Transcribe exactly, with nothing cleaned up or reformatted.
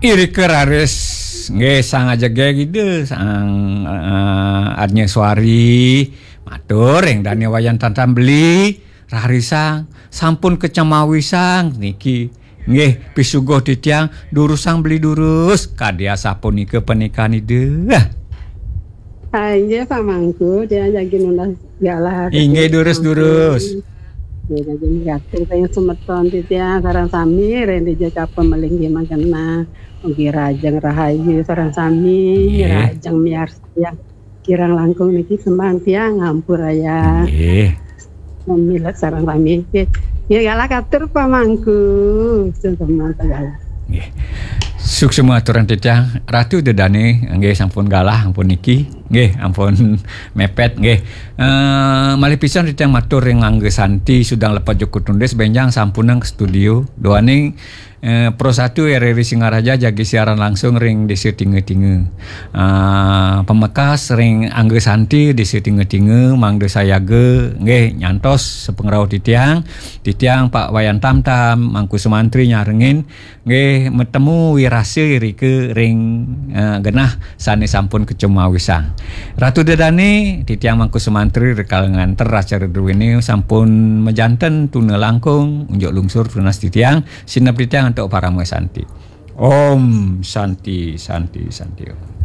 Irika raris nggih sang ajege Ida, sang, eh, Arnya Suari, matur ring dane Wayan Tantam beli, rarisang, sampun kacemawisang niki. Nggih, pisuguh titiang, durusang beli durus, kadi asapunika panikan Ida. Ah, inggih, Pak Mangku, tiang jagi nunas galah. Inggih, durus-durus. Nggih, jagi ngatur kaya semeton titiang sareng sami, ring dija capa malinggih mangkena. Ugi rahajeng rahayu sareng sami, nggih, rahajeng miarsa kirang langkung niki sembah tiang ngampurayang. Nggih. Mamilet sareng sami. Nggih. Nggih, galah katur Pak Mangku. Suksma galah. Nggih. Suksma aturan titiang, Ratu Dedane, nggih sampun galah, ampun niki. Nggih, ampun mepet, nggih. Eh, malih pisan titiang matur ring Angga Santi, Sudang Lepat Joko Tundis, benjang sampunang ke studio. Duaning, eh, Pro Satu R R I Singaraja jagi siaran langsung ring Desa Tinga-Tinga. Ah, pamekas ring Angga Santi Desa Tinga-Tinga, mangda sayaga, nggih, nyantos sapangrauh titiang, titiang Pak Wayan Tamtam, Mangku Sumantri nyarengin, nggih, matemu wirasa irika ring, eh, genah sane sampun kacemawisang. Ratu Dedane, titiang Mangku Sumantri rikala nganter acara druene sampun majanten tuna langkung, unjuk lungsur tunas titiang, sineb titiang antuk parama santi. Om Santi, Santi, Santi Om.